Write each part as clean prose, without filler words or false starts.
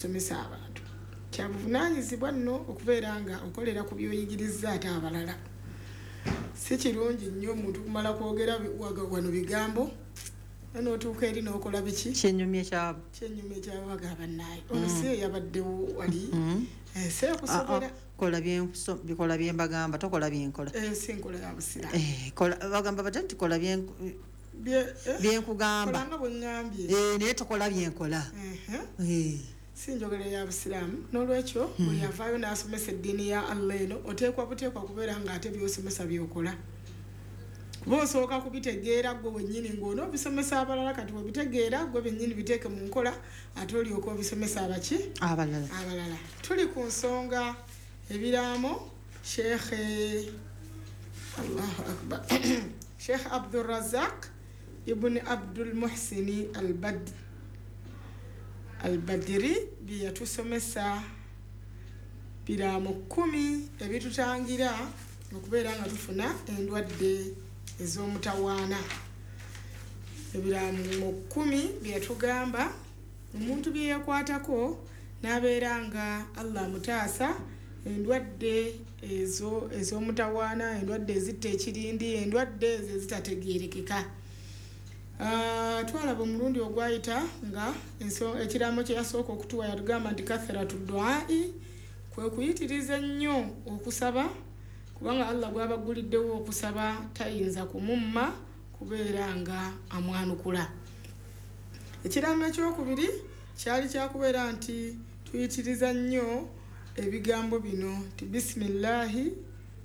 Somesa abantu kyabuvunaanyizibwa nno okubeera nga okolera ku byoyigiriza ate abalala. Si kirungi nnyo omuntu kumala kwogera wano bigambo n'otuuka eri n'okola biki? Kyenyumye kyabo. Kyenyumye kyabo, bagamba, "Naye ono si eyabaddewo wali?" Ensi ekusobera. Kola byembagamba, tokola byenkola. Ensi enkola ya busiraamu. Bagamba batya nti kola byenkugamba. Kolanga bwe ŋŋambye. Naye tokola byenkola. Si njogera ya busiraamu. N'olwekyo buli avaayo n'asomesa eddiini ya Allah eno, oteekwa buteekwa kubeera nga ate byosomesa byokola, kuba osooka kubitegeera gwe wennyini ng'ona obisomesa abalala. Kati webitegeera gwe bennyini, biteeke mu nkola, ate olyoka obisomesa abaki? Abalala. Abalala. Tuli ku nsonga ebiraamo Sheekhe, Allahu akbar, Sheekh Abdurazak Ibuni Abdul Muhsini Albadiri bye yatusomesa, biraamo 10 ebitutangira okubeera nga tufuna endwadde ez'omutawaana. Ebiraamo 10 bye yatugamba, omuntu bye yakwatako n'abeera nga Allah amutaasa endwadde ezo ez'omutawaana, endwadde ezitta ekirindi, endwadde ezo ezitategeerekeka. Twalaba omulundi ogwayita nga ekiraamo kye yasooka okutuwa, yatugamba nti kathratu duai, kwe kuyitiriza ennyo okusaba, kubanga Allah gwabaguliddewo okusaba tayinza kumumma kubeera nga amwanukula. Ekiraamo ekyokubiri kyali kyakubeera nti tuyitiriza nnyo ebigambo bino nti bisimillahi,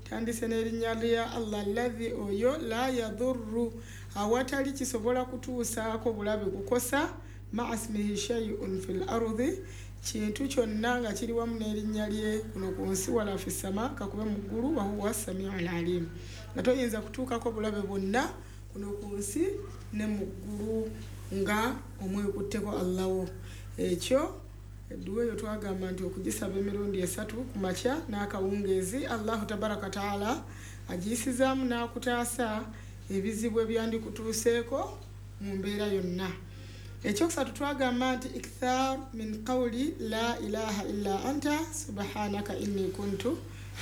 tandise n'erinnya lya Allah, allahi oyo, la yadurru, awatali kisobola kutuusaako bulabe, kukosa, maa smihi shayun fi l ardi, kintu kyonna nga kiri wamu n'erinnya lye kuno ku nsi, wala fi sama, kakube mu ggulu, wahuwa samiu alalim, nga toyinza kutuukako bulabe bwonna kuno ku nsi ne mu ggulu nga omwekutteko Allawo. Ekyo edduwa eyo twagamba nti okugisaba emirundi esatu ku makya n'akawungeezi, Allahu tabaraka taala agiyisizaamu n'akutaasa ebizibu ebyandikutuuseeko mu mbeera yonna. Ekyokusatu twagamba nti ikthar min qawli la ilaha illa anta subhanaka inni kuntu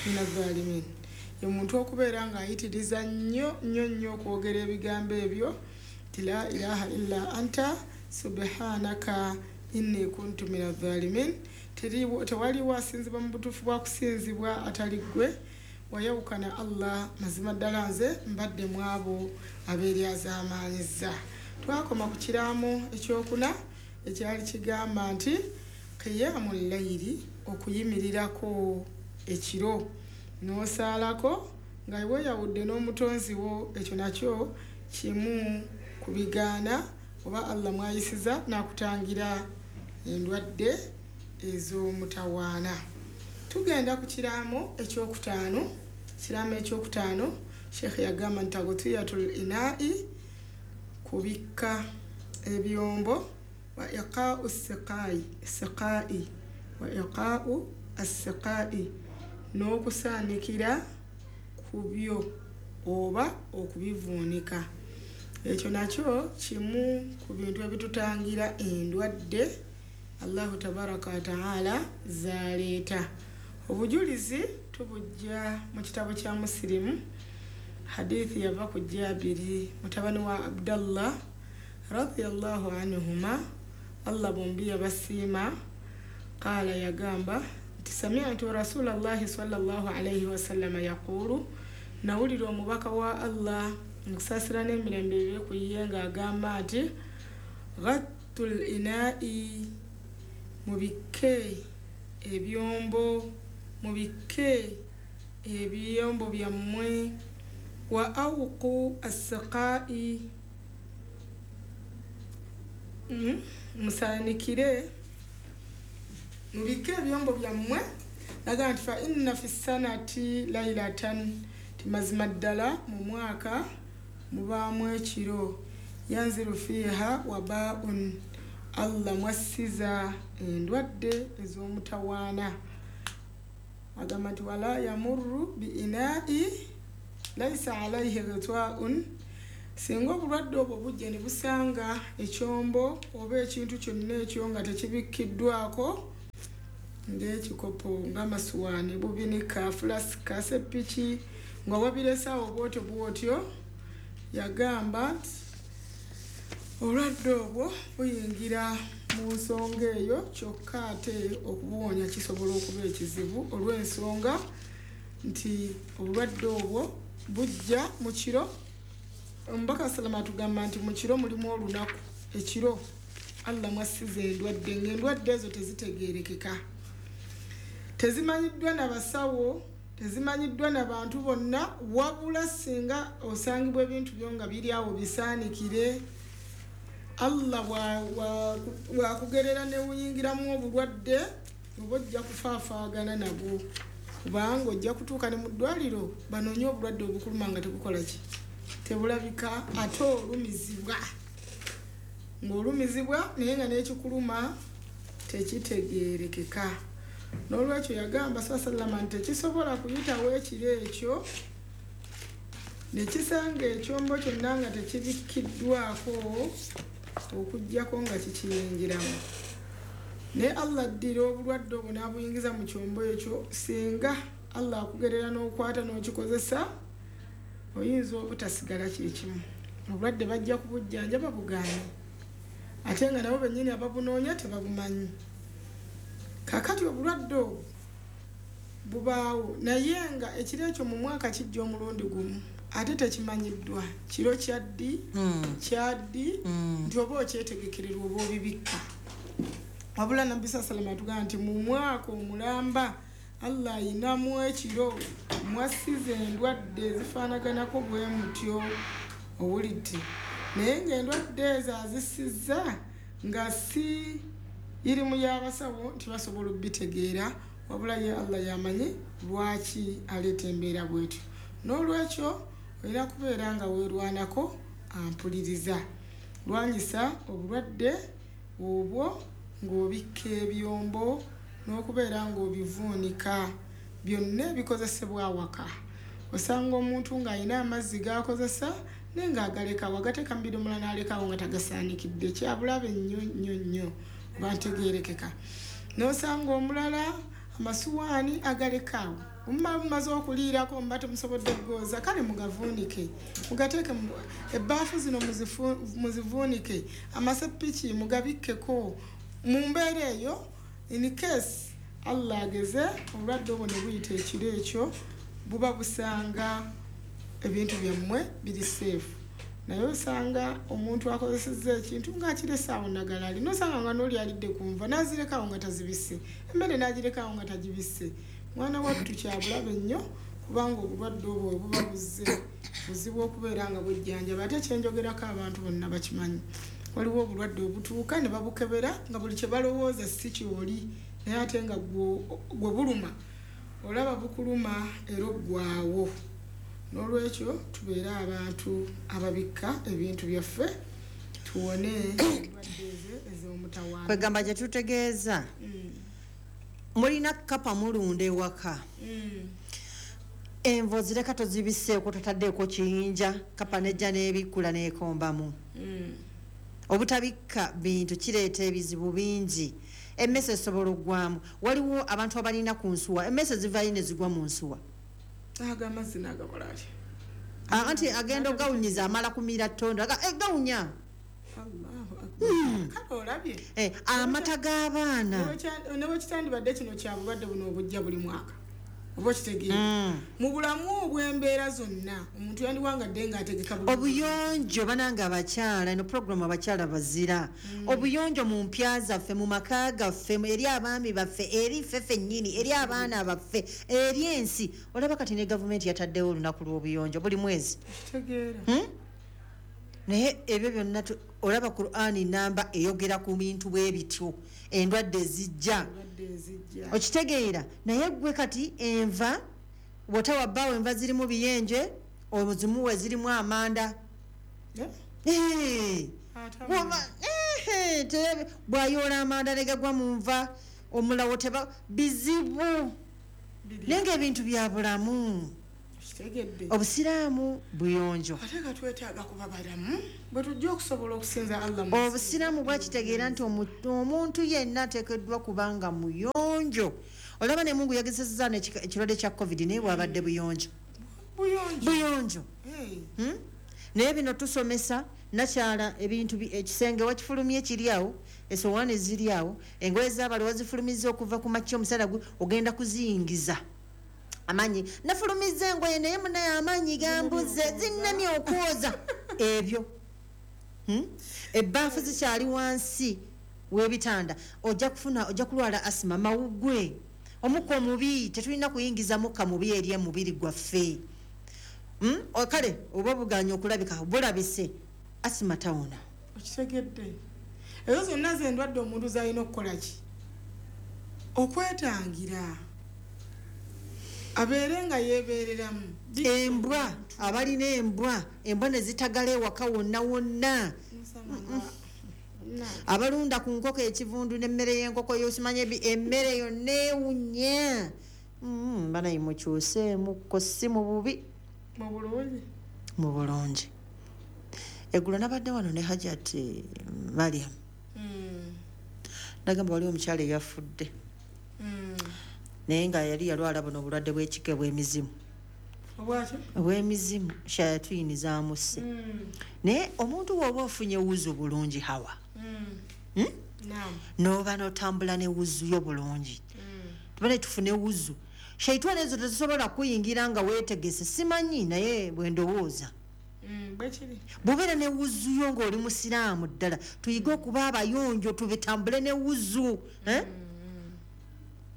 min azalimin, omuntu okubeera ng'ayitiriza nnyo nnyo nnyo okwogera ebigambo ebyo nti la ilaha illa anta subhanaka inni kuntu min azalimin, tewaliwo asinzibwa mu butuufu bwa kusinzibwa atali ggwe, wayawukana Allah, mazima ddala nze mbadde mu abo abeeryazaamaanyiza. Twakoma ku kiraamo ekyokuna ekyali kigamba nti qiyamu layiri, okuyimirirako ekiro n'osaalako nga weeyawudde n'omutonzi wo. Ekyo nakyo kimu ku bigaana oba Allah mwayisiza n'akutangira endwadde ez'omutawaana. Tugenda ku kiraamo ekyokutaano. Kiraamo ekyokutaano, sheekhe yagamba nti tagtiyatul inai, kubikka ebyombo, wa iqau siqai, wa iqau assiqai, n'okusaanikira ku byo oba okubivuunika. Ekyo nakyo kimu ku bintu ebitutangira endwadde Allahu tabaraka wataala zaleeta. Obujulizi tubujja mu kitabo kya Musirimu. Hadithi yava ku Jabiri mutabani wa Abdallah radiallahu anhuma, Allah bombi yabasiima. Qaala, yagamba nti samitu rasulallahi salllah alaihi wasallama yaqulu, nawulira omubaka wa Allah, nkusaasira n'emirembe bibe ku ye, ng'agamba nti ghattu l inai, mubikke ebyombo, mubikke ebyombo byammwe, wa awqu assiqai, musaanikire, mubikke ebyombo byammwe. Naga nti fa inna fi sanati lailatan, ti mazima ddala mu mwaka mubaamu ekiro, yanziru fiiha wabaun, Allah mwassiza endwadde ez'omutawaana. Agamba nti wala yamurru bi inai laisa alaihi ghitwaun, singa obulwadde obwo bujja ne busanga ekyombo oba ekintu kyonna ekyo nga tekibikkiddwako. Ng'ekikopo, ng'amasuwaani, bubinika, fulasika, sepiki, nga wabiresaawo bwotyo bwotyo. Yagamba nti obulwadde obwo buyingira mu nsonga eyo, kyokka ate okubuwonya kisobola okuba ekizibu olw'ensonga nti obulwadde obwo bujja mu kiro. Omubaka salama atugamba nti mu kiro mulimu olunaku, ekiro Allah mwasiza endwadde, ng'endwadde ezo tezitegeerekeka, tezimanyiddwa na basawo, tezimanyiddwa na bantu bonna, wabula singa osangibwa ebintu byo nga biri awo bisaanikire, Allah bwakugerera ne buyingiramu obulwadde oba ojja kufaafaagana nabwo, kubanga ojja kutuuka ne mu ddwaliro banoonye obulwadde obukuluma nga tebukola ki, tebulabika, ate olumizibwa ng'olumizibwa naye nga n'ekikuluma tekitegeerekeka. N'olwekyo yagamba sallama nti tekisobola kuyitawo ekiro ekyo ne kisanga ekyombo kyonna nga tekibikkiddwako okuggyako nga kikiyingiramu. Naye Allah addira obulwadde obwo n'abuyingiza mu kyombo ekyo. Singa Allah akugerera n'okwata n'okikozesa, oyinza obutasigala kyekimu. Obulwadde bajja kubujjanjaba bugaanye, ate nga nabo bennyini ababunoonya tebabumanyi. Kaakati obulwadde obwo bubaawo, naye nga ekiro ekyo mu mwaka kijja omulundi gumu, ate tekimanyiddwa kiro kyaddi kyaddi nti oba okyetegekererwa oba obibikka. Wabula Nabbi salama atugamba nti mu mwaka omulamba Allah ayinamu ekiro mwasiza endwadde ezifaanaganako bwe mutyo, owulidde? Naye ng'endwadde ezo azisizza nga si irimu y'abasawo nti basobola okubitegeera, wabula ye Allah yamanyi lwaki aleeta embeera bwetyo. N'olwekyo olina kubeera nga weerwanako, ampuliriza, lwanyisa obulwadde obwo ng'obikka ebyombo n'okubeera ng'obivuunika byonna ebikozesebwa awaka. Osanga omuntu ng'alina amazzi g'akozesa naye ng'agalekawo, agateeka mu bidomola n'alekawo nga tagasaanikidde, kyabulabe nnyo nnyo nnyo, oba ntegeerekeka. N'osanga omulala amasuwaani agalekaawo, mumaze okuliirako muba temusobodde kugooza, kale mugavuunike, mugateeke ebbaafu zino muzivuunike, amasepiki mugabikkeko. Mu mbeera eyo, in case Allah ageze obulwadde obwo ne buyita ekiro ekyo, buba busanga ebintu byammwe biri safe. Naye osanga omuntu akozesezza ekintu ng'akirese awo nagalali, nosanga nga n'oli alidde ku nva n'azirekawo nga tazibisse, emmere n'agirekawo nga tagibisse. Mwana wattu kyabulabe nnyo, kubanga obulwadde obwo bwe buba buzze buzibu okubeera nga bwejjanjaba. Ate kyenjogerako abantu bonna bakimanyi, waliwo obulwadde obutuuka ne babukebera nga buli kye balowooza si kyoli, naye ate nga gwe buluma, olaba bukuluma era oggwawo. N'olwekyo tubeere abantu ababikka ebintu byaffe, tuwone endwadde ezo ez'omutawaana. Kwegamba gye tutegeeza, mulina kapa mulunda ewaka, envo zireka tozibiseeko, totaddeeko kiyinja, kapa nejja n'ebikkula n'ekombamu. Obutabikka bintu kireeta ebizibu bingi. Emmese esobola oggwamu. Waliwo abantu abalina ku nsuwa, emmese zivaayo ne zigwa mu nsuwa. Ago amazzi n'agakola atya? Anti agenda ogawunyiza, amala kumira ttondo. Gawunya. Allahu akbar, kale olabye. Amata g'abaana. Ne bwe kitandibadde kino kya bulwadde buno obujja buli mwaka, oba okitegeera, mu bulamu obw'embeera zonna omuntu yandiwangadde ng'ategeka bulungi. Obuyonjo banange, abakyala, eno puroguramu abakyala bazira. Obuyonjo mu mpya zaffe, mu maka gaffe, eri abaami baffe, eri ffe ffennyini, eri abaana baffe, eri ensi. Olaba kati ne gavumenti yataddewo olunaku lw'obuyonjo buli mwezi. Kitegeera. Naye ebyo byonna olaba Qur'ani namba eyogera ku bintu bwe bityo, endwadde ezijja. Endwadde ezijja. Okitegeera? Naye gwe kati enva bw'otawa bbaawo, enva zirimu biyenje, ozimuwe zirimu amanda. Eh? Ate Bw'ayoola amanda ne gagwa mu nva, omulawo teba bizibu. Biri. Naye ng'ebintu bya bulamu. Kitegedde. Obusiraamu buyonjo. Ate nga twetaaga kuba balamu bwe tujja okusobola okusinza Allah mu nsi. Obusiraamu bwakitegeera nti omuntu yenna ateekeddwa kubanga muyonjo. Olaba ne Mungu yagezesezza ekirwadde kya COVID, naye bwabadde buyonjo. Buyonjo. Buyonjo. Hey. Naye bino tusomesa nakyala ebintu ekisenge wakifulumye kiri awo, essowaani ziri awo, engoye z'abali wazifulumizza okuva ku makya omusana ogenda kuziyingiza. Amaanyi nafulumizza engoye naye munaye amaanyi gambuze, zinnemye okwoza ebyo. Ebbaafu zikyali wansi w'ebitanda, ojja kulwala asima, mawuggwe, omukka omubi. Tetulina kuyingiza mukka mubi eri emubiri gwaffe. Kale oba buganye okulabika bulabise, asima tawona. Okitegedde. Ezo zonna z'endwadde omuntu z'alina okukola ki? Okwetangira. Abeere nga yeebeereramu. Embwa, abalina embwa, embwa ne zitagala ewaka wonna wonna. Abalunda ku nkoko ekivundu n'emmere y'enkoko y'osimanya emmere yonna ewunya. Banayi mukyuseemukko, si mu bubi. Mu bulungi. Mu bulungi. Eggulo nabadde wano ne Hajat Mariam. Nagamba waliwo omukyala eyafudde. Naye nga yali yalwala buno obulwadde bw'ekika bw'emizimu. Obwaki? Obw'emizimu, shayatini zaamusse. Naye omuntu bw'oba ofunye wuzu bulungi hawa. Naam. N'oba n'otambula ne wuzu yo bulungi. Tubale tufune wuzu. Shaitani ezo tezisobola kuyingira nga weetegese, simanyi naye bwe ndowooza. Bwekiri. Bw'obeera ne wuzu yo ng'oli musiraamu ddala, tuyige okuba abayonjo, tubitambule ne wuzu.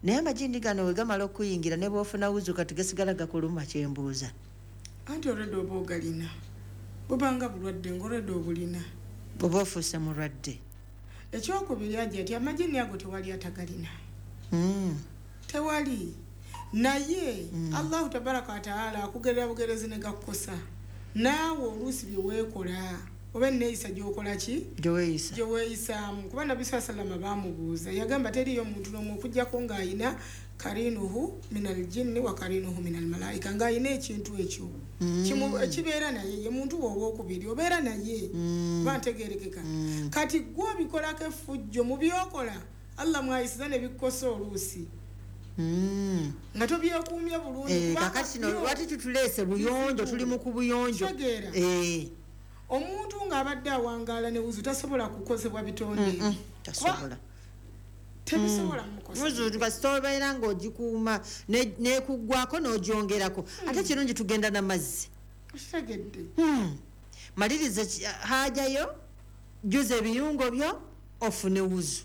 Naye amagindi gano we gamala okuyingira ne bw'ofuna wuzu kati gasigala gakuluma, kyembuuza. Anti olwedde oba ogalina. Bubanga bulwadde ng'olwedde obulina. Oba ofuuse mulwadde. Ekyokubiri ajja nti amagini ago tewali atagalina. Tewali. Naye Allahu tabaraka wa taala akugerera bugerezi ne gakukosa. Naawe oluusi bye weekola oba enneeyisa gy'okola ki? Gye weeyisa. Gye weeyisaamu. Kuba Nabbi sallallahu alayhi wasallam baamubuuza, yagamba teriiyo muntu n'omu okuggyako ng'ayina karinuhu minal jinni wa karinuhu minal malaika, ng'ayina ekintu ekyo. Ekibeera naye, ye muntu wo owookubiri, obeera naye. Oba ntegeerekeka. Kati ggwe obikolako effujjo mu by'okola, Allah mwayisiza ne bikukosa oluusi. Nga tobyekuumye bulungi. Kubanga Kakati kino byo lwaki tutuleese buyonjo, tuli mu ku buyonjo. Kitegeera. Omuntu ng'abadde awangaala ne wuzu tasobola kukozebwa bitonde. Tasobola. Tebisobola mukosa. Wuzu kasita obeera ng'ogikuuma, n'ekuggwako n'ogyongerako. Ate kirungi tugenda n'amazzi. Okitegedde. Maliriza haajayo, jjuza ebiyungo byo, ofune wuzu.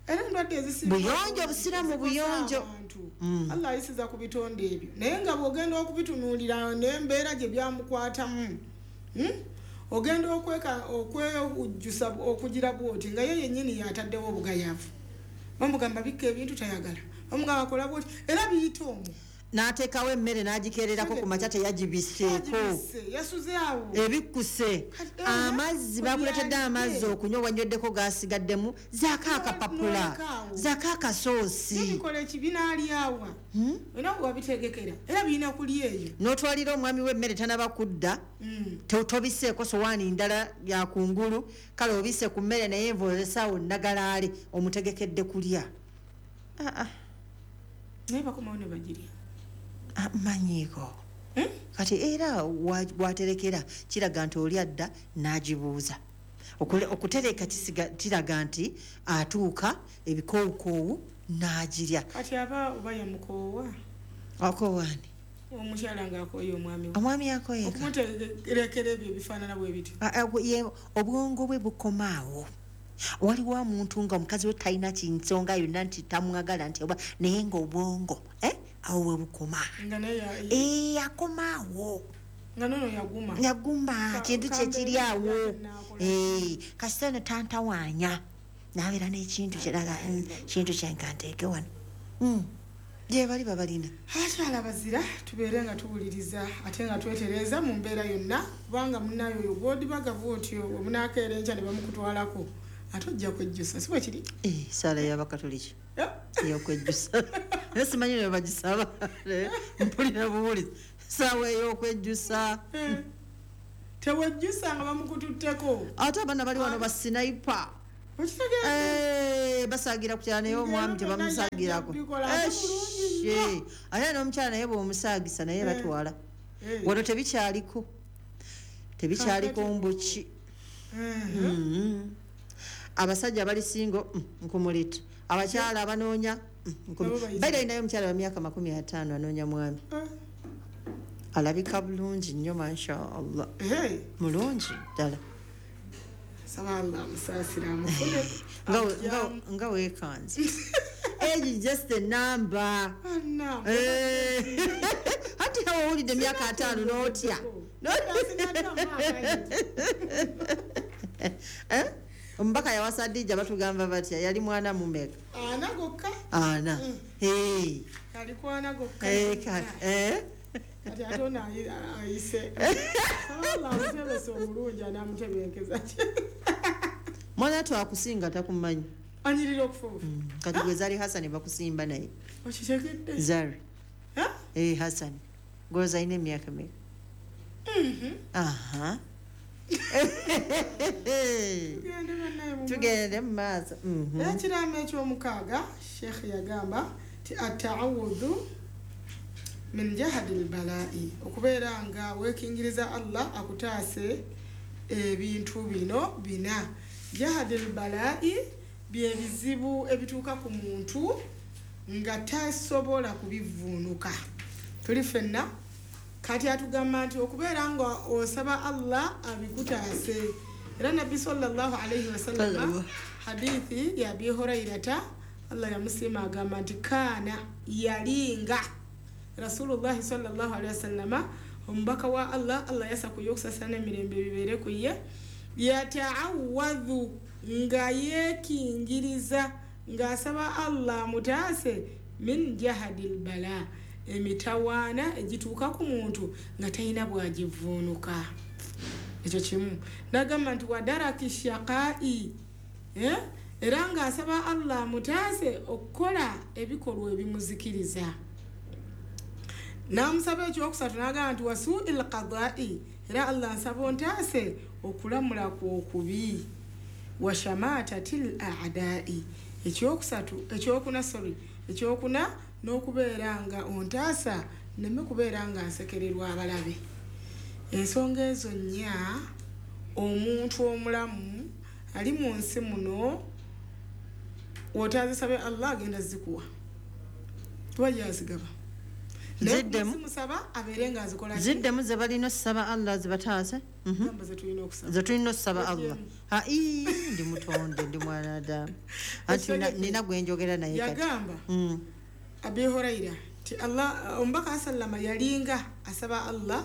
Era endwadde ezisinga Buyonjo, obusiraamu zikosa buyonjo. abantu. Allah ayisiza ku bitonde ebyo. Naye nga bw'ogenda okubitunuulira n'embeera gye byamukwatamu. Ogenda okwewujjusa okugira bw'oti nga ye yennyini y'ataddewo obugayaavu. Bamugamba bikka ebintu tayagala. Bamugamba kola bw'oti era biyita omwo. N'ateekawo emmere n'agikeererako ku makya teyagibiseeko. Teyagibisse, yasuze awo. Ebikkuse. Kati, Amazzi, ku bakuleetedde byalidde. amazzi okunywa, wanyweddeko gasigaddemu, zaako akapapula, N'oleka awo. zaako akasoosi. Byo bikola ekibi n'alyawa. Olina bwe wabitegekera, era birina kulya eyo. N'otwalira omwami w'emmere tanaba kudda, tobiseeko sowaani ndala ya kungulu, kale obisse ku mmere naye enva olesaawo nnagalaale, omutegekedde kulya. Naye bakomawo ne bagirya. Manyiiko. Kati era waterekera kiraga nti oli adda n'agibuuza. Okutereka kiraga nti atuuka ebikoowukoowu n'agirya. Kati aba oba yamukoowa? Akoowa ani? Omukyala ng'akooye omwami we. Omwami akooye. Okumuterekera ebyo ebifaanana bwe bityo. Obwongo bwe bukomaawo. Waliwo omuntu nga omukazi we talina kinsonga yonna nti tamwagala nti oba, naye ng'obwongo, awo we bukoma. Nga naye Akomaawo. Nga nono yaguma. Yaguma, kintu kye kiri awo. Kambeera n'akola. Kasita ne tantawaanya. N'abeera n'ekintu kirala, kintu kye nga nteeke wano. Gye bali babalina. Abakyala bazira tubeere nga tuwuliriza ate nga twetereeza mu mbeera yonna, kubanga munnayo oyo gw'odibaga bw'otyo omunaakeera enkya ne bamukutwalako ate ojja kwejjusa, si bwe kiri? Ssaala y'Abakatoliki. Ey'okwejjusa. Naye simanyi ne bagisaba, mpulira buwulizi saawa ey'okwejjusa. Tewejjusa nga bamukututteko. Ate abaana bali wano basinaipa. Basagira ku kyala naye omwami tebamusagirako. Ate n'omukyala naye bw'omusaagisa naye batwala. Wano tebikyaliko. Tebikyaliko mbuki. Abasajja bali singo nkumulita. Abakyala abanoonya nkumulita. Naye omukyala wa myaka 50 anoonya mwami. Alabika bulungi nnyo masha Allah. Mulungi ddala. Nga weekanze. Age is just a number. Ati hawa owulidde emyaka 50 n'otya. Omubaka yawasa Hadija batugamba batya yali mwana mumeka? Ana gokka. Ana. Yali kwana gokka. Kati ate ono ayise. Allah amuteebese omulungi anaamutebenkeza ki? Mwana twakusinga takumanyi. Anyirira okufuufa. Kati gwe Zari Hassan bakusimba naye. Okitegedde? Zari. Hassan. Gwe alina emyaka emeka? Aha. Tugende mu maaso. Ekiraamo ekyomukaaga Sheikh yagamba ti ataawudhu min jahadi lbalai, okubeera nga weekingiriza Allah akutaase ebintu bino bina. Jahadi lbalai bye bizibu ebituuka ku muntu nga tasobola kubivuunuka. Tuli ffenna kati atugamba nti okubeera nga osaba Allah abikutaase. Era Nabbi sallallahu alaihi wasallam hadithi ya Abi Hurairata Allah yamusiima agamba nti kaana yalinga Rasulullah sallallahu alaihi wasallam omubaka wa Allah, Allah yasa ku yokusasana n'emirembe bibeere ku ye, yataawadhu nga yeekingiriza ng'asaba Allah mutaase min jahadil bala, emitawaana egituuka ku muntu nga talina bw'agivuunuka. Ekyo kimu. N'agamba nti wadaraki shaqai, era ng'asaba Allah mutaase okukola ebikolwa ebimuzikiriza. N'amusaba ekyokusatu n'agamba nti wasuil qadai, era Allah nsaba ontaase okulamula kw'okubi. Washamatatil a'dai, ekyokuna n'okubeera nga ontaasa nneme kubeera nga nsekererwa abalabe. Ensonga ezo nnya omuntu omulamu ali mu nsi muno w'otaazisabe Allah agenda zikuwa, tuba yazigaba. Ziddemu abeere nga azikola. Ziddemu ze balina okusaba Allah zibataase. Ze tulina okusaba Allah. Ndi mutonde, ndi mwana Adamu. Anti nina gwe njogera naye kati. Yagamba Abi Huraira ti Allah omubaka sallama yalinga asaba Allah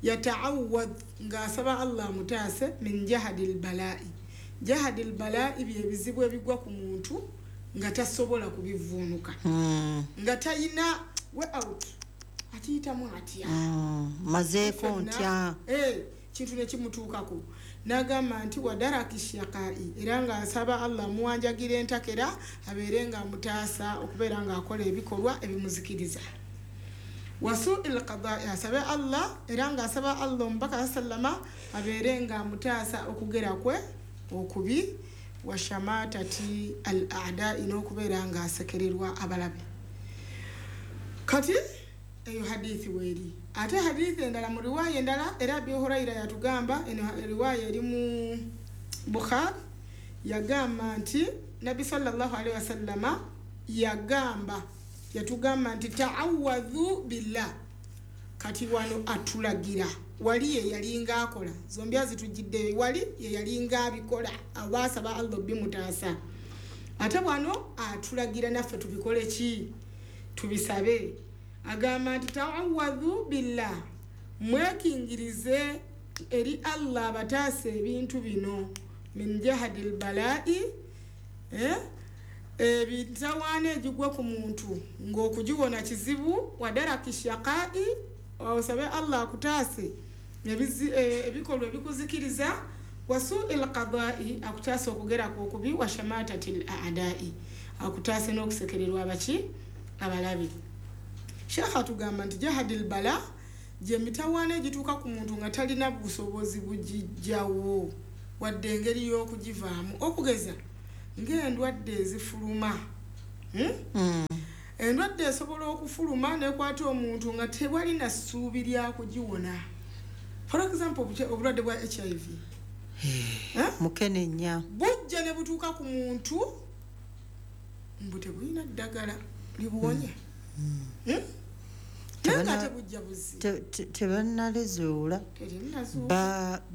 yataawad nga asaba Allah mutaase min jahadil balai. Jahadil balai bye bizibu ebigwa ku muntu nga tasobola kubivuunuka. Nga tayina way out. Akiyitamu atya? Mazeeko ntya? Kintu ne kimutuukako. N'agamba nti wadaraki shaqai, era ng'asaba Allah amuwanjagira entakera abeere ng'amutaasa okubeera ng'akola ebikolwa ebimuzikiriza. Wasuil qadai, asabe Allah era ng'asaba Allah omubaka sallama abeere ng'amutaasa okugera kwe okubi. Washamatati al a'dai, n'okubeera ng'asekererwa abalabe. Kati eyo hadithi weeri. Ate hadithi endala mu riwaaya endala era Abi Huraira yatugamba, eno riwaaya eri mu Bukhari, yagamba nti Nabbi sallallahu alaihi wasallama yagamba yatugamba nti ta'awadhu billah. Kati wano atulagira wali ye yalinga akola zombi azitujjidde, wali ye yalinga abikola abaasaba Allah bimutaasa. Ate wano atulagira naffe tubikole ki? Tubisabe. Agamba nti ta'awadhu billah, mwekingirize eri Allah abataase ebintu bino min jahadil balai, ebitawaana egigwa ku muntu ng'okugiwona kizibu. Wadaraki shaqai, osabe Allah akutaase ebikolwa ebikuzikiriza. Wasuil qadai, akutaase okugera kw'okubi. Washamatatil a'dai, akutaase n'okusekererwa abaki Abalabe. Sheekh atugamba nti jahadil bala gye mitawaana egituuka ku muntu nga talina busobozi bugijjawo wadde engeri y'okugivaamu, okugeza ng'endwadde ezifuluma. Endwadde esobola okufuluma nekwata omuntu nga tewalina ssuubi lya kugiwona. For example, obulwadde bwa HIV. Mukenenya bujja ne butuuka ku muntu mbu tebulina ddagala libuwonye. Naye nga tebujja buzi. Tebannalizuula.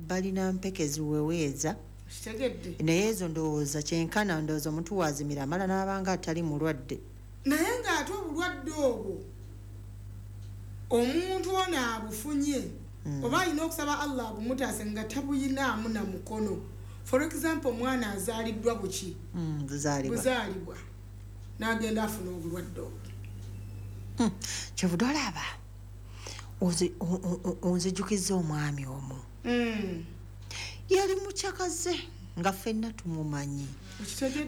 Balina mpeke ziweweeza. Kitegedde. Naye ezo ndowooza kyenkana ndowooza omuntu waazimira amala n'abanga atali mulwadde. Naye ng'ate obulwadde obwo omuntu ono abufunye oba alina okusaba Allah abumutaase nga tabuyinaamu na mukono. For example, omwana azaaliddwa buki? Buzaalibwa n'agenda afuna obulwadde obwo. Kyovudde olaba onzijukizza omwami omu. Yali mukyakaze nga ffenna tumumanyi,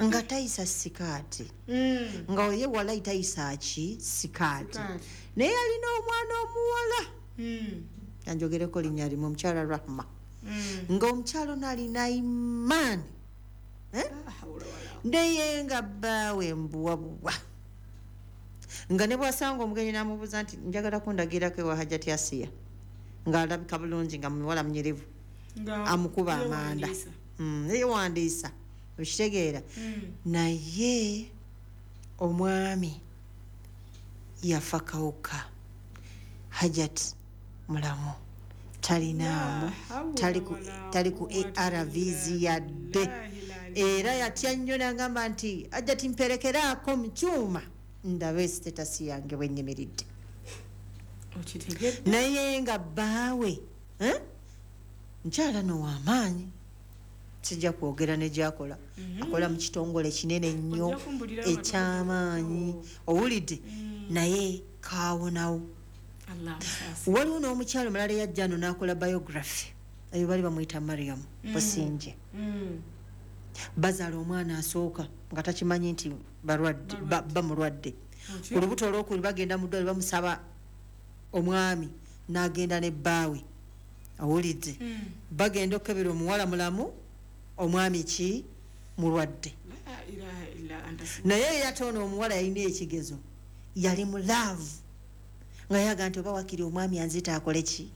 nga tayisa sikaati, nga ye walayi tayisa ki sikaati, naye alina omwana omuwala. Yanjogereko linnya limu, omukyala Rahma. Nga omukyala ono alina imaani, naye nga bbaawe mbuwabuwa, nga ne bw'asanga omugenyi n'amubuuza nti njagala kundagirako ewa Hajjati Asiya, ng'alabika bulungi nga muwala munyirivu, amukuba amanda, yeewandiisa, okitegeera. Naye omwami yafa kawuka, Hajjati mulamu, talinaamu, tali ku ARVs yadde. Era yatya nnyo n'agamba nti Hajjati mperekeraako mu kyuma ndabe status yange bwe nnyimiridde. Naye nga bbaawe nkyala no w'amaanyi, sijja kwogera ne gy'akola, akola mu kitongole kinene nnyo eky'amaanyi, owulidde, naye kaawonawo. Waliwo n'omukyalo omulala eyajja ano n'akola biography, eyo bali bamuyita Mariam Businje. Bazaala omwana asooka nga takimanyi nti balwadde, bamulwadde. Ku lubuto olwokubiri bagenda mu ddwaliro bamusaba omwami n'agenda ne bbaawe, owulidde. Bagenda okukebera omuwala mulamu, omwami ki mulwadde. Naye ate ono omuwala yalina ekigezo, yali mu love, nga yaga nti oba wakiri omwami anzita akole ki?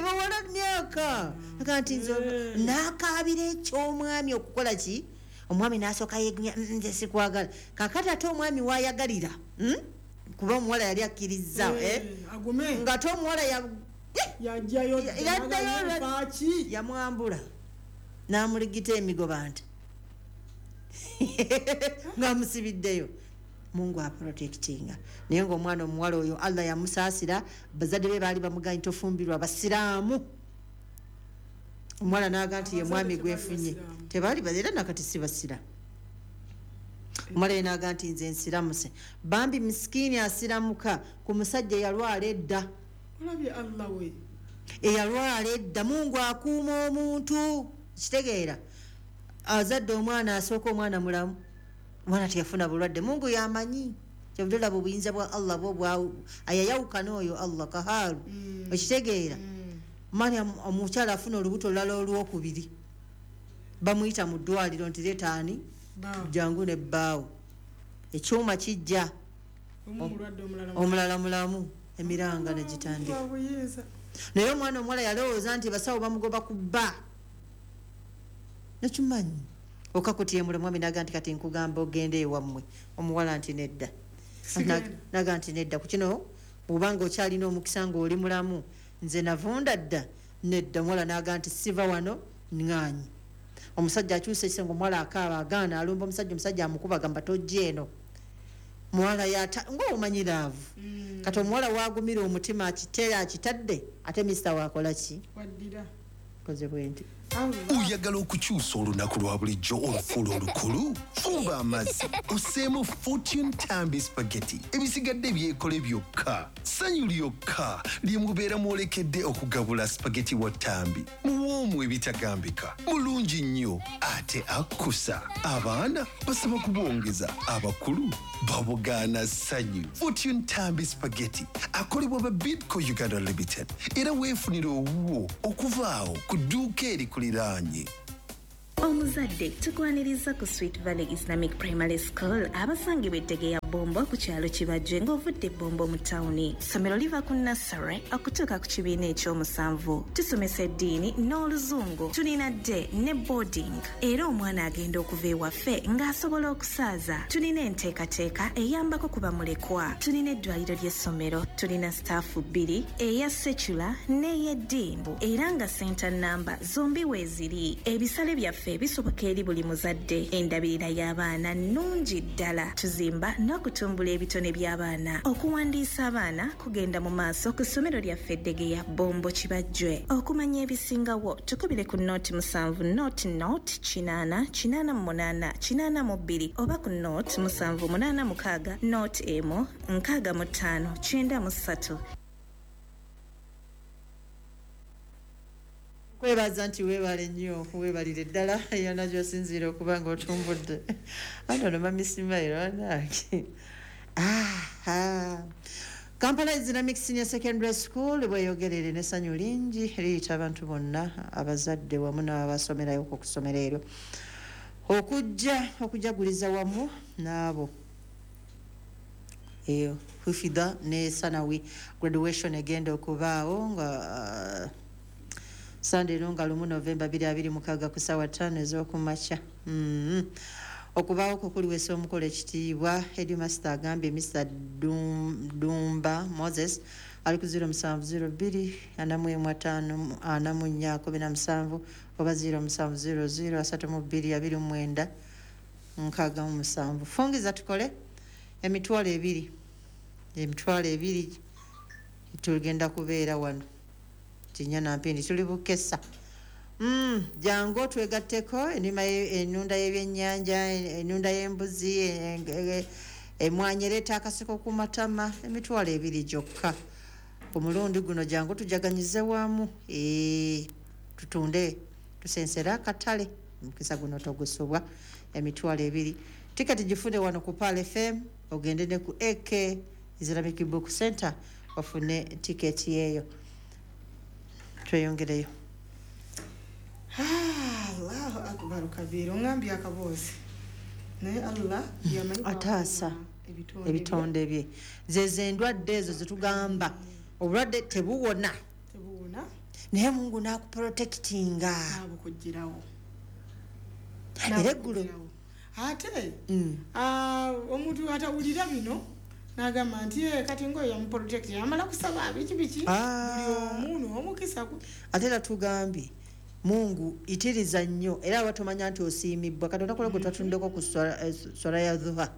Bawala myaka. Aga nti nze n'akaabira eky'omwami okukola ki? Omwami n'asooka yeegumya, nze sikwagala. Kaakati ate omwami w'ayagalira, kuba omuwala yali akkirizza, ng'ate omuwala yajjayo yamwambula n'amuligita emigoba nti ng'amusibiddeyo. Mungu aprotectinga. Naye ng'omwana omuwala oyo Allah yamusaasira, bazadde be baali bamugaanyi tofumbirwa basiraamu. Omuwala n'aga nti ye mwami gwefunye, tebaali era nakati si basiraamu. Omuwala ye n'aga nti nze nsiramuse. Bambi misikiini asiramuka ku musajja eyalwala edda. Olabye Allah we. Eyalwala edda, Mungu akuuma omuntu. Kitegeera. Azadde omwana asooka omwana mulamu, omwana teyafuna bulwadde. Mungu yamanyi. Kyovudde olaba obuyinza bwa Allah bwo ayayawukana oyo Allah kahaalu. Okitegeera. Omwana omukyala afuna olubuto olulala olwokubiri, bamuyita mu ddwaliro nti leeta ani, jangu ne bbaawo. Ekyuma kijja, omulala mulamu, emiranga ne gitandika. Naye omwana omuwala yalowooza nti basawo bamugoba ku bba. Nakimanyi. Okakutyemula omwami n'aga nti kati nkugamba ogende ewammwe. Omuwala nti nedda. N'aga nti nedda. Ku kino bw'obanga okyalina omukisa ng'oli mulamu, nze navunda dda. Nedda. Omuwala n'aga nti siva wano ŋŋaanyi. Omusajja akyusa ekisenge, omuwala akaaba agaana, alumba omusajja, omusajja amukuba agamba tojja eno. Muwala yata ng'omanyi laavu. Kati omuwala waagumira omutima akitera akitadde, ate minisita waakola ki? Waddira. Koze bwe nti. Oyagala okukyusa olunaku lwa bulijjo olufuula olukulu? Fumba amazzi osseemu Fortune Tambi Spaghetti, ebisigadde byekole byokka. Ssanyu lyokka lye mubeera mwolekedde okugabula spaghetti wa Tambi. Muwoomu ebitagambika, mulungi nnyo ate akkusa. Abaana basaba kubongeza, abakulu babugaana ssanyu. Fortune Tambi Spaghetti akolebwa ba Bidco Uganda Limited, era weefunire owuwo okuva awo ku dduuka erikuliraanye. Omuzadde, tukwaniriza ku Sweet Valley Islamic Primary School, abasangibwa eddege ya Bombo ku kyalo Kibajje ng'ovudde Bombo mu tawuni. Ssomero liva ku nursery okutuuka ku kibiina ekyomusanvu. Tusomesa eddiini n'Oluzungu. Tulina day ne boarding, era omwana agenda okuva ewaffe ng'asobola okusaaza. Tulina enteekateeka eyambako ku bamulekwa. Tulina eddwaliro ly'essomero. Tulina staff bbiri, eya secular n'ey'eddiini, era nga center namba zombi weeziri. Ebisale byaffe bisoboka eri buli muzadde. Endabirira y'abaana nnungi ddala. Tuzimba n'okutumbula ebitone by'abaana. Okuwandiisa abaana kugenda mu maaso ku ssomero lyaffe Eddegeya, Bombo, Kibajjwe. Okumanya ebisingawo, tukubire ku 07 00 80 88 82 oba ku 0786 01 65 93. Kwebaza nti weebale nnyo, weebalire ddala yonna gy'osinziira okuba nga otumbudde. Anti ono Mami Simairo anange. Kampala Islamic Senior Secondary School bweyogerere n'essanyu lingi liyita abantu bonna, abazadde wamu n'abasomerayo ku ssomero eryo, okujja okujaguliza wamu n'abo eyo hufidha ne sanawi graduation egenda okubaawo nga Sande eno nga 1 Novemba 2026 ku ssaawa 5 ez'okumakya. Okubaawo kwo kuliweesa omukolo ekitiibwa. Headmaster agambye Mr Dumba Moses ali ku 0702 41 5 44 17 oba 0700 32 29 67. Fungiza tukole 20,000, 20,000 tugenda kubeera wano kinya na mpindi tuli bukesa. Jangu twegatteko enima, enunda y'ebyennyanja, enunda y'embuzi, emwanyi ereeta akaseko ku matama, 20,000 gyokka ku mulundi guno. Jangu tujaganyize wamu, tutunde, tusensere akatale. Omukisa guno togusubwa. 20,000. Tiketi gifune wano ku Pearl FM, ogende ne ku AK Islamic Book Center ofune tiketi eyo. Tweyongereyo. Allahu akbar kabiira. Oŋambye akaboozi, naye Allah yamanyi Ataasa bw'akuuma ebitonde bye. Zezo endwadde ezo zetugamba obulwadde tebuwona, Tebuwona. Naye Mungu n'akuprotectinga. Nabukugirawo. Era eggulo Ate omuntu atawulira bino n'agamba nti, "Eh, kati ngaoyo yamuprotect, amala kusaba biki biki." Buli omu n'omukisa gwe. Ate era tugambye Mungu itiriza nnyo, era aba tomanya nti osiimibwa Katonda kola gwe twatuddeko ku swala ya dhuha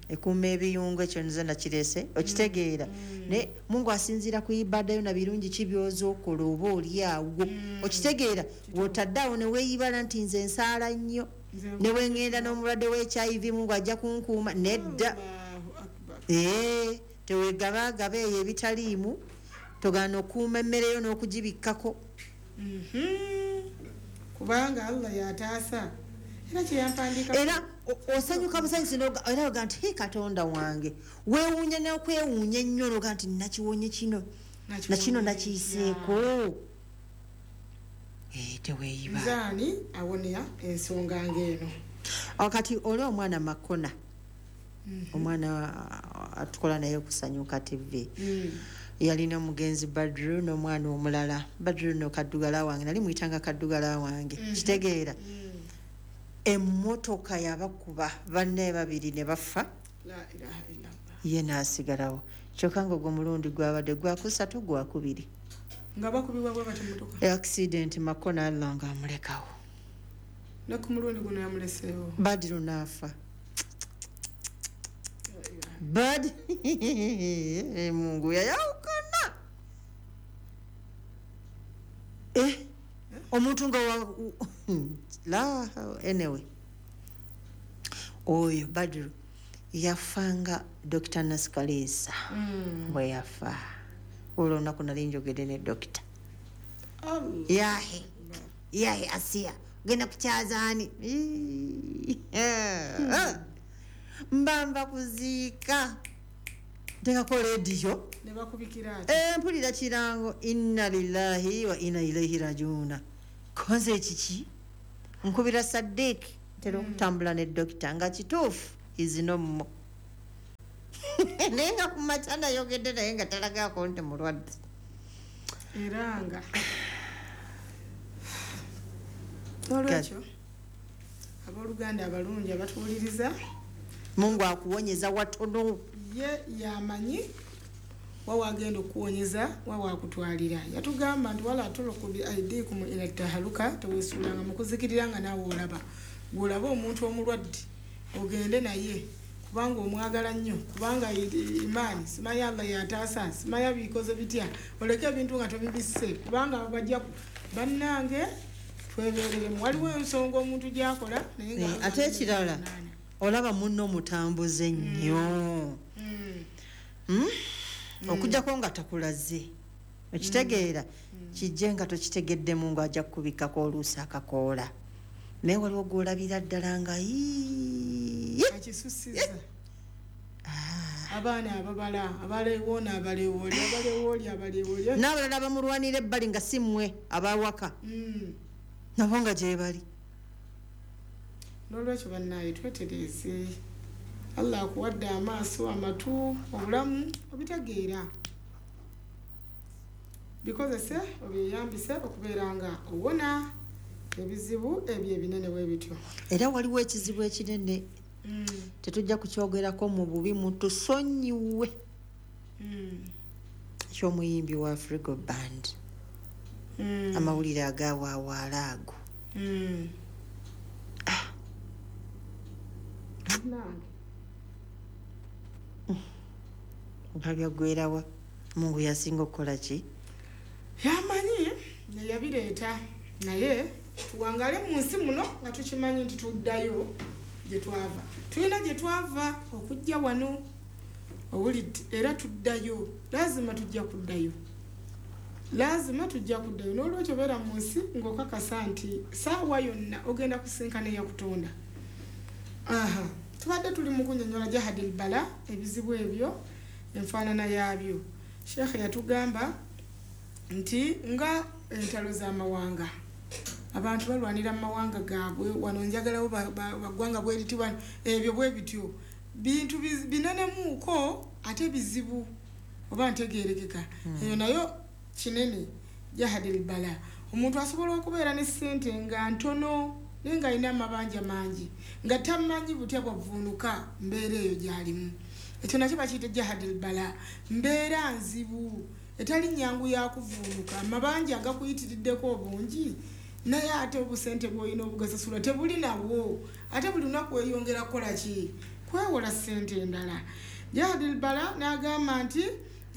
ekuuma ebiyungu. Ekyo nze nakireese, okitegeera? Naye Mungu asinziira ku ibada yo na birungi ki byoza okola oba oli awo, okitegeera? Wotadde awo ne weeyibala nti nze nsaala nnyo, ne bwe ŋŋenda n'omulwadde wa HIV Mungu ajja kunkuuma, nedda. Allahu akbar. Ee, tewegabaagaba eyo ebitaliimu, togaana okuuma emmere yo n'okugibikkako. Kubanga Allah yataasa, era kyeyampandiika. Era osanyuka busanyusi era oga nti, "He, Katonda wange." Weewuunya n'okwewuunya ennyo noga nti nakiwonye kino, nakino nakiyiseeko. Eh, teweeyiba. Nzaani awonera ensonga ng'eno? Awo kati oli omwana Makona, omwana atukola naye Okusanyuka TV, yalina omugenzi Badru n'omwana omulala. Badru no kaddugala wange, nali muyitanga kaddugala wange, kitegeera? Emmotoka yabakuba banne babiri ne bafa, La ilaha illallah. ye n'asigalawo. Kyokka nga ogwo mulundi gwabadde gwakusatu, gwakubiri. Nga bakubibwa bwe bati motoka? Accident. Makona Allah nga amulekawo. Ne ku mulundi guno yamuleseewo. Badiru n'afa. Bad Mungu yayawukana. Eh, Omuntu nga la anyway. Oyo Badru yafanga Dr. Naskalisa. Bwe yafa. Olwo olunaku nali njogedde ne dokita. Yahe. Yahe Asiya. Genda kukyazaani. Mbamba kuziika. Nteekako rediyo. Ne bakubikira ati. Mpulira kirango inna lillahi wa inna ilaihi rajiuna. Konze ekiki? Nkubira Saddiq ntera okutambula ne dokita nga kituufu izino mmo. Naye nga ku makya nayogedde naye nga talagaako nti mulwadde. Era nga olwekyo abooluganda abalungi abatuwuliriza, Mungu akuwonyeza watono. Ye yamanyi wawagenda okuwonyeza wawakutwalira. Yatugamba nti wala tuluku bi aidikum ila tahaluka, teweesuulanga mu kuzikirira nga naawe olaba. Bw'olaba omuntu omulwadde ogende naye kubanga omwagala nnyo, kubanga imaani simanyi Allah yataasa, simanyi bikoze bitya, oleke ebintu nga tobibisse kubanga bajja bannange twebeereremu. Waliwo ensonga omuntu gy'akola naye nga ate ekirala olaba munno mutambuze nnyo. Okujjako nga takulaze okitegeera kijje nga tokitegedde Mungu ajja kukubikkako oluusi akakoola. Naye waliwo gw'olabira ddala nga akisusiza. Abaana ababala abalewoona abalewooli abalewooli abalewooli n'abalala bamulwanira ebbali nga si mmwe abawaka nabo nga gye bali. N'olwekyo bannaye twetereeze. Allah akuwadde amaaso, amatu, obulamu obitegeera, bikozese obyeyambise okubeera nga owona ebizibu ebyo ebinene bwe bityo. Era waliwo ekizibu ekinene tetujja kukyogerako mu bubi, mutusonyiwe, eky'omuyimbi wa Afrigo Band. Amawulire agawaawaala ago. Byaggwerawa. Mungu yasinga okukola ki? Yamanyi neyabireeta, naye tuwangale mu nsi muno nga tukimanyi nti tuddayo gye twava. Tulina gye twava okujja wano owulidde, era tuddayo, laazima tujja kuddayo, laazima tujja kuddayo. N'olwekyo beera mu nsi ng'okakasa nti saawa yonna ogenda kusinkana eyakutonda. Aha, tubadde tuli mu kunnyonnyola jahadil bala, ebizibu ebyo enfaanana yaabyo. Sheikh yatugamba nti nga entalo z'amawanga, abantu balwanira mu mawanga gaabwe, wano njagalawo baggwanga bweriti wano, ebyo bwe bityo bintu binenemuuko ate bizibu oba ntegeerekeka. Eyo nayo kinene jahadil bala. Omuntu asobola okubeera ne ssente nga ntono naye ng'alina amabanja mangi, nga tamanyi butya bwavuunuka mbeera eyo gy'alimu. Ekyo nakyo bakiyita jahadil bala, mbeera nzibu etali nnyangu yakuvuunuka, amabanja agakuyitiriddeko obungi naye ate obusente bw'olina obugasasula tebuli nawo, ate buli lunaku weyongera kukola ki? Kwewola ssente endala. Jahadil bala n'agamba nti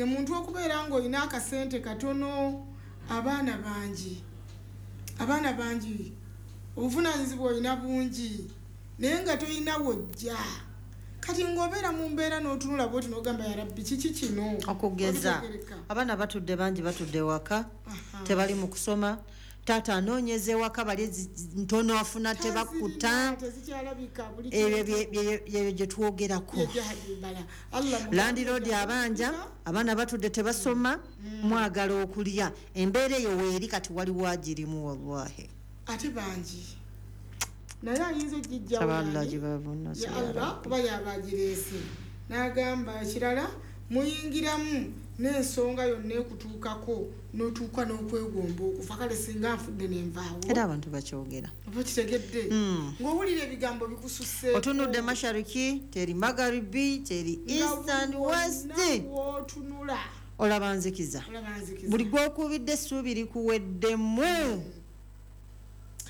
omuntu okubeera ng'olina akasente katono, abaana bangi, abaana bangi, obuvunaanyizibwa olina bungi naye nga tolina wojja. Kati ng'obeera mu mbeera n'otunula bw'oti n'ogamba ya Rabbi kiki kino? Okugeza abaana batudde bangi, batudde waka, tebali mu kusoma, taata anoonyeza ewaka bali ntono afuna tebakkuta, ebyo gye twogerako. Landiroodi abanja, abaana batudde tebasoma, mwagala okulya, embeera eyo weeri kati waliwo agirimu wallahi. Ate bangi naye ayinza okugijjawo Allah kuba yabagireese. N'agamba ekirala muyingiramu n'ensonga yonna ekutuukako n'otuuka n'okwegomba okufa, kale singa nfudde nenvaawo. Era abantu bakyogera. Oba kitegedde ng'owulira ebigambo bikususse. Otunudde mashariki, teri magharibi, teri east and west. W'otunula olaba nzikiza. Buli gw'okubidde essuubi likuweddemu.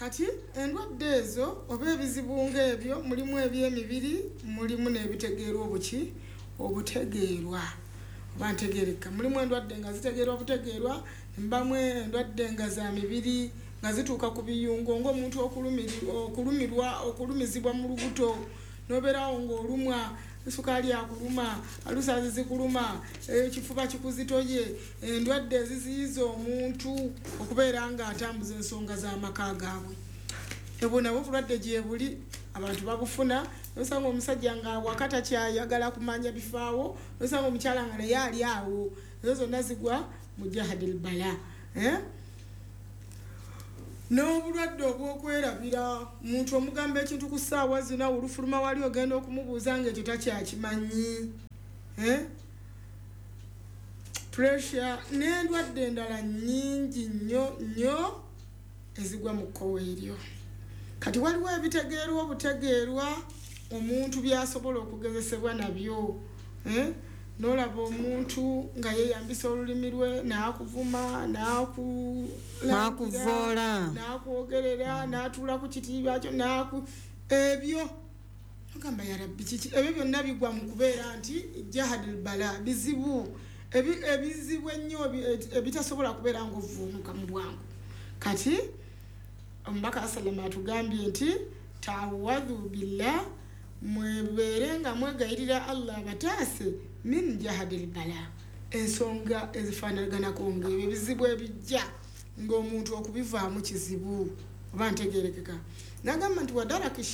Kati endwadde ezo oba ebizibu ng'ebyo mulimu eby'emibiri, mulimu n'ebitegeerwa obuki obutegeerwa oba ntegeereka. Mulimu endwadde nga zitegeerwa butegeerwa, mbamu endwadde nga za mibiri, nga zituuka ku biyungo ng'omuntu okulumirwa okulumizibwa mu lubuto nobeerawo ng'olumwa sukaali akuluma alusazi zikuluma ekifuba kikuzitoye endwadde eziziyiza omuntu okubeera ng'atambuza ensonga z'amaka gaabwe ebwo nabwo obulwadde gye buli abantu babufuna nosanga omusajja nga waka takyayagala kumanya bifaawo nosanga omukyala nga naye ali awo ezo zonna zigwa mu jahadil bala n'obulwadde obw'okwerabira omuntu omugamba ekintu ku ssaawa zina olufuluma wali ogenda okumubuuza ng'ekyo takyakimanyi pressure n'endwadde endala nnyingi nnyo nnyo ezigwa mu kkowe eryo. Kati waliwo ebitegeerwa obutegeerwa omuntu by'asobola okugezesebwa nabyo n'olaba omuntu nga yeeyambisa olulimi lwe n'akuvuma n'akuvoola n'akwogerera n'atuula ku kitiibwa kyo ebyo ogamba ya Rabbi kiki ebyo byonna bigwa mu kubeera nti jahadil bala bizibu ebizibu ennyo ebitasobola kubeera ng'ovvuunuka mu bwangu. Kati omubaka sallama atugambye nti taawadhu billah mwebeere nga mwegayirira Allah abataase min jahadil bala ensonga ezifaanaganako ng'ebyo ebizibu ebijja ng'omuntu okubivaamu kizibu oba ntegeerekeka. Nagamba nti wa daraki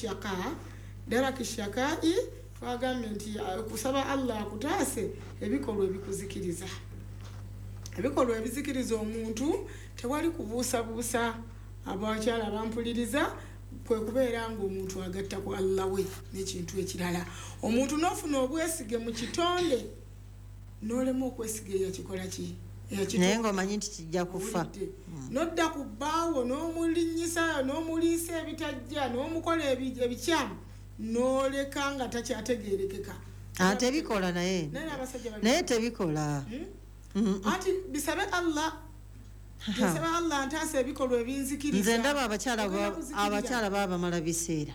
shakai twagambye nti okusaba Allah akutaase ebikolwa ebikuzikiriza ebikolwa ebizikiriza omuntu tewali kubuusabuusa abakyala bampuliriza kwe kubeera ng'omuntu agatta ku Allah we n'ekintu ekirala. Omuntu n'ofuna obwesige mu kitonde n'olema okwesiga eyakikola ki naye ng'omanyi nti kijja kufa n'odda ku bbaawo n'omulinnyisa n'omuliisa ebitajja n'omukola ebikyamu n'oleka nga takyategeerekeka. Tebikola naye naye tebikola anti bisabe Allah nsaba Allah ntaasa ebikolwa ebinzikiriza. Nze ndaba abakyala baba bamala biseera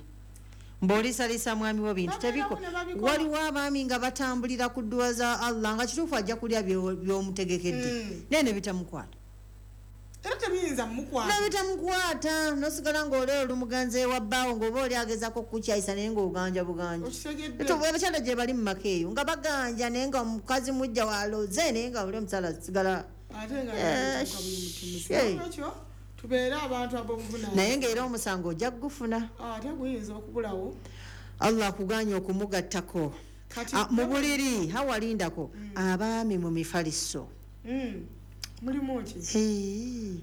mb'oliisalisa mwami wo bintu tebiko. Waliwo abaami nga batambulira ku dduwa za Allah nga kituufu ajja kulya by'omutegekedde naye ne bitamukwata era tebiyinza mmukwata ne bitamukwata n'osigala ng'oli olumuganza ewa bbaawo ng'oba oli agezaako okukukyayisa naye ng'oganja buganja. Abakyala gye bali mu maka eyo nga baganja naye nga omukazi mujja waloze naye nga oli omukyala asigala ate nga ekyo tubeere abantu ab'obuvunanyizibwa naye ng'era omusango ojja kugufuna ate guyinza okubulawo. Allah akuganye okumugattako mu buliri hawalindako abaami mu mifaliso mulimu ki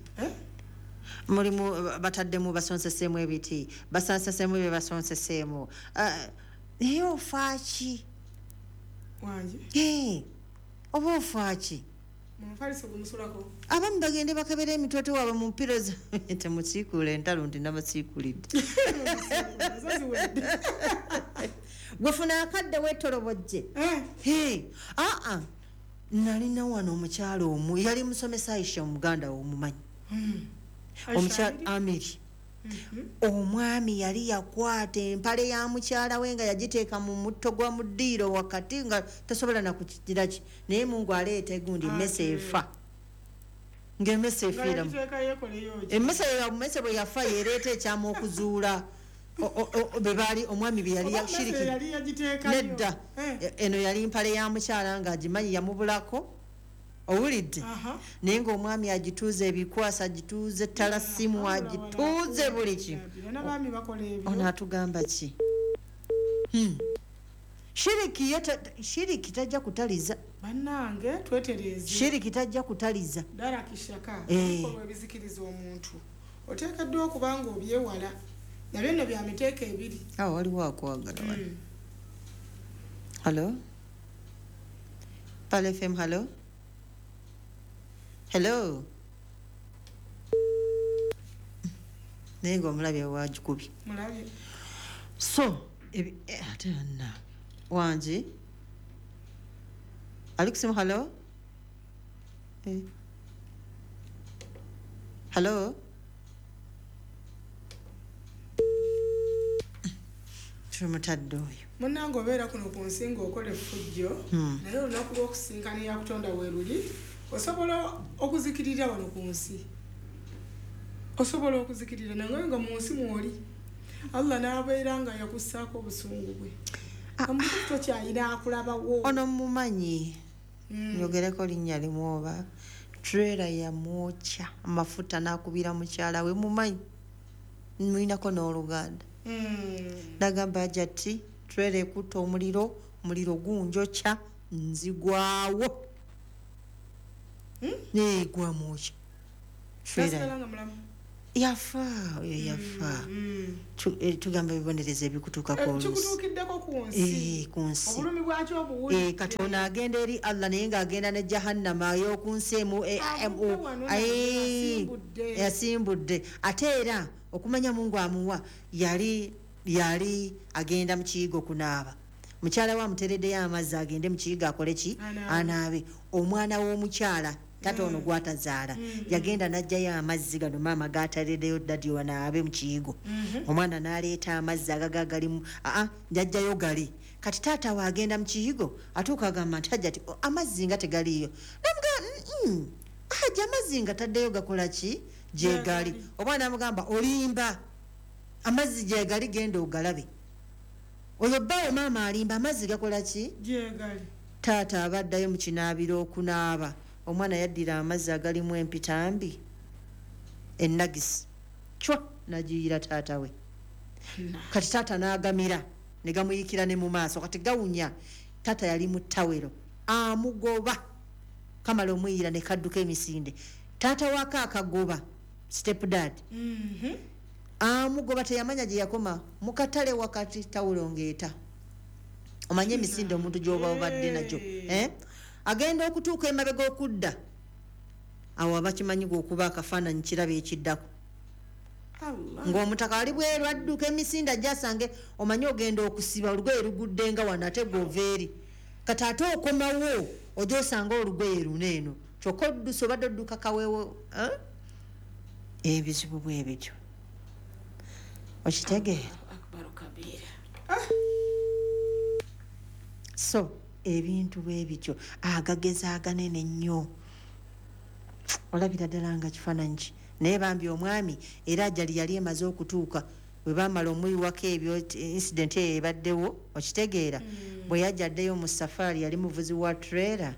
mulimu bataddemu basonseseemu ebiti basanseseemu bye basonseseemu naye ofaaki wangi oba ofaaki mufaliso gumusulako abamu bagende bakebera emitwetwe waabwe mu mpiro temusiikuula entalo nti nabasiikulidde gwefuna akadde weetolobojje aa nalina wano omukyalo omu yali musomesa Aisha omuganda omumanyi omukyala Amiri omwami yali yakwata empale ya mukyala we nga yagiteeka mu mutto gwa mu ddiiro wakati nga tasobola na kukigira ki naye Mungu aleeta egundi emmese efa ng'emmese efiiramu emmese bwe yafa yereeta ekyama okuzuula be baali omwami bye yali yashiriki nedda eno yali mpale ya mukyala ng'agimanyi yamubulako owulidde naye ng'omwami agituuze ebikwasa agituuze talasimu agituuze buli kimu ono atugamba ki shiriki tajja kutaliza bannange twetereeze shiriki tajja kutaliza darakishaka ebikolwa ebizikiriza omuntu oteekeddwa okuba nga obyewala nabyo nno bya miteeko ebiri. Waliwo akwagala wano. Hello Pal FM, hello hello naye ng'omulabye wagikubye so ate anna wangi ali kusimu hello hello tumutadde oyo munnange obeera kuno ku nsi ng'okola effujjo naye olunaku lw'okusinkana eyakutonda we luli osobola okuzikirira wano ku nsi Osobola okuzikirira nange nga mu nsi mwoli Allah n'abeera nga yakussaako obusungu bwe. Omuntu tokyalina akulabawo. Ono mumanyi, nyogereko linnya limu oba trailer yamwokya amafuta n'akubira mukyala we, mumanyi mulinako n'oluganda. Nagamba Hajati trailer ekutta omuliro, omuliro gunjokya nzigwawo. Gwamwokya. Nasigala nga mulamu. Yafa, oyo yafa. Tugamba ebibonerezo ebikutuukako oluusi. Kikutuukiddeko ku nsi. Ku nsi. Obulumi bwakyo obuwulidde. Katonda agenda eri Allah naye ng'agenda ne Jahannama ey'oku nsi emu, Avudde wano naye asimbudde. Yasimbudde. Ate era okumanya Mungu amuwa, yali agenda mu kiyigo kunaaba. Mukyala we amuteereddeyo amazzi agende mu kiyigo akole ki? Anaabe. Anaabe. Omwana w'omukyala tata ono gw'atazaala yagenda n'aggyayo amazzi gano maama g'ateereddeyo dadi wanaabe mu kiyigo. Omwana n'aleeta amazzi agaga galimu, aa, n'aggyayo gali. Kati taata we agenda mu kiyigo atuuka agamba nti Hajati, oh, amazzi nga tegaliiyo. Namugamba, Hajja amazzi nga taddeyo gakola ki? Gye gali. Omwana amugamba olimba, amazzi gye gali, genda ogalabe. Oyo bbaawo maama alimba, amazzi gakola ki? Gye gali. Taata abaddayo mu kinaabiro okunaaba. Omwana yaddira amazzi agalimu empitambi ennagisi cwa n'agiyira taata we. Kati taata n'agamira ne gamuyikira ne mu maaso, kati gawunya. Taata yali mu ttawero amugoba, kamala omuyira ne kadduka emisinde. Taata wako akagoba, step dad. Amugoba teyamanya gye yakoma, mu katale wakati tawulo ng'eta. Omanye emisinde omuntu gy'oba obadde nagyo. Agenda okutuuka emabega okudda, awo abakimanyi gw'okuba akafaananyi kiraba ekiddako. Allah. Ng'omutaka ali bweru adduka emisinde ajja asange, omanye ogenda okusiba olugoye lugudde nga wano ate gw'ova eri. Kati ate okomawo ojja osanga olugoye luno eno, kyokka odduse obadde odduka kaweewo, Ebizibu bwe bityo. Okitegeera? Akbar kabira. So ebintu bwe bityo agageza aganene nnyo, olabira ddala nga kifaananyi ki. Naye bambi omwami era ajali yali emaze okutuuka bwe baamala omuyiwako ebyo, incident eyo ebaddewo, okitegeera. Bwe yajja addeyo mu safaari yali muvuzi wa trailer.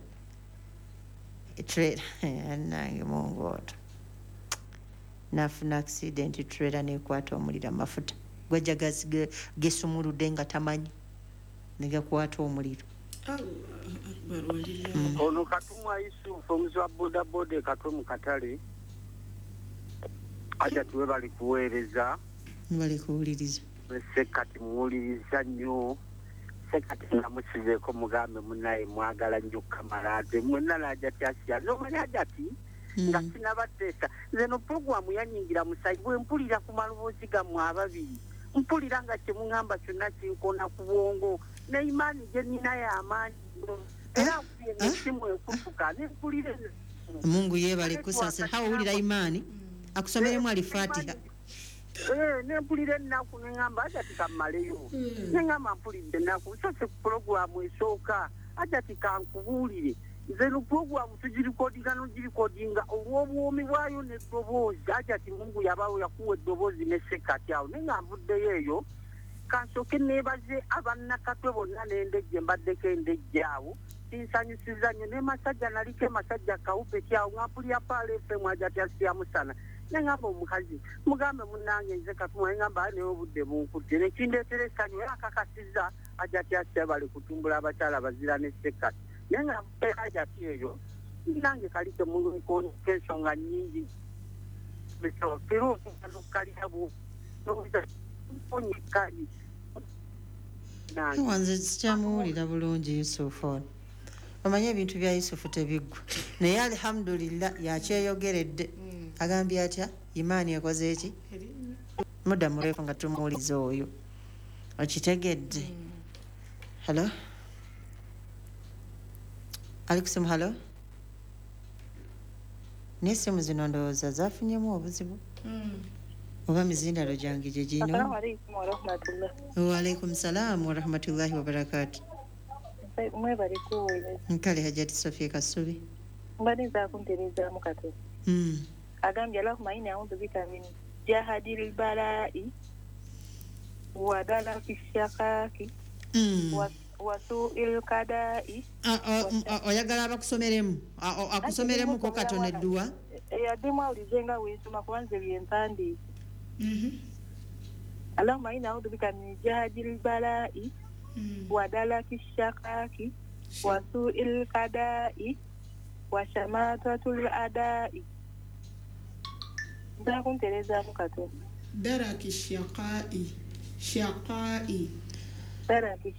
Trailer, annange Mungu oto. N'afuna accident, trailer n'ekwata omuliro, amafuta gwajja gesumuludde nga tamanyi, ne gakwata omuliro. Ono Katumwa Yusufu omuzi wa bodaboda e Katwe mu katale. Hajati we bali kuweereza. Bali kuwuliriza. Ssekati muwuliriza nnyo. Ssekati namusizeeko mugambe munnaye mwagala nnyo Kamala ate mwenna n'Hajati Asiya. N'omanyi Hajati nga sinabateesa. Nze no pulogulaamu yannyingira musayi bwe mpulira ku maloboozi gammwe ababiri. Mpulira nga kye muŋŋamba kyonna kinkoona ku bwongo. Ne imaani gye nnina y'amaanyi. Era nkubye n'essimu ekutuka ne mpulira eno. Mungu yeebale kusaasira. Hawa owulira imaani? Akusomeremu Alifatiha. Ne mpulira ennaku ne ŋŋamba Hajati kammaleyo. Ne ŋŋamba mpulidde ennaku. So si pulogulaamu esooka. Hajati kankubuulire. Nze no pulogulaamu tugirikodinga n'ogirikodinga olw'obuwoomi bwayo n'eddoboozi. Hajati Mungu yabawo yakuwa eddoboozi ne Ssekati awo. Naye nga nvuddeyo eyo, kansooke neebaze abannakatwe bonna n'endejje, mbaddeko endejje awo. Kinsanyusizza nnyo. Ne Masajja naliko e Masajja Kawupeti awo nga mpulira Pearl FM Hajati Asiya Musana. Ne ŋŋamba omukazi, mugambe munnange nze Katumwa, ne ŋŋamba aye naye obudde bunkutte. Ne kindeetera essanyu era akakasizza Hajati Asiya bali kutumbula abakyala bazira ne Ssekati. Naye nga nvuddeyo Hajati eyo, nange kali temuluko ensonga nnyingi. Nze sikyamuwulira bulungi Yusufu ono. Omanyi ebintu bya Yusufu tebiggwa. Naye alhamdulillah yakyeyogeredde. Agambye atya? Imaani ekoze eki? Mudda murefu nga tumuwuliza oyo. Okitegedde? Hello? Ali kusimu, hello? N'essimu zino ndowooza zafunyemu obuzibu. Oba mizindalo gyange gye gino. Assalamu alaikum wa rahmatullah. Wa alaikum salaam wa rahmatullahi wa barakatuh. Mwebale kuwuliriza. Nkale Hajati Sofia Kasubi. Mbadde nzaako ntereezaamu katono. Agambye allahumma inni a'udhu bika min jahadil bala'i wa dalaki shaqaqi wa su'il qada'i. Oyagala abakusomeremu akusomeremuko katono edduwa? Yaddemu awulize nga weesoma kuba nze bye mpandiise. Allahumma inni a'udhu bika min jahadil bala'i wa dalaki shaqaqi wa su'il qada'i wa shamatatul ada'i. Nza kunterezaamu katono. Daraki shaqa'i, shaqa'i. Daraki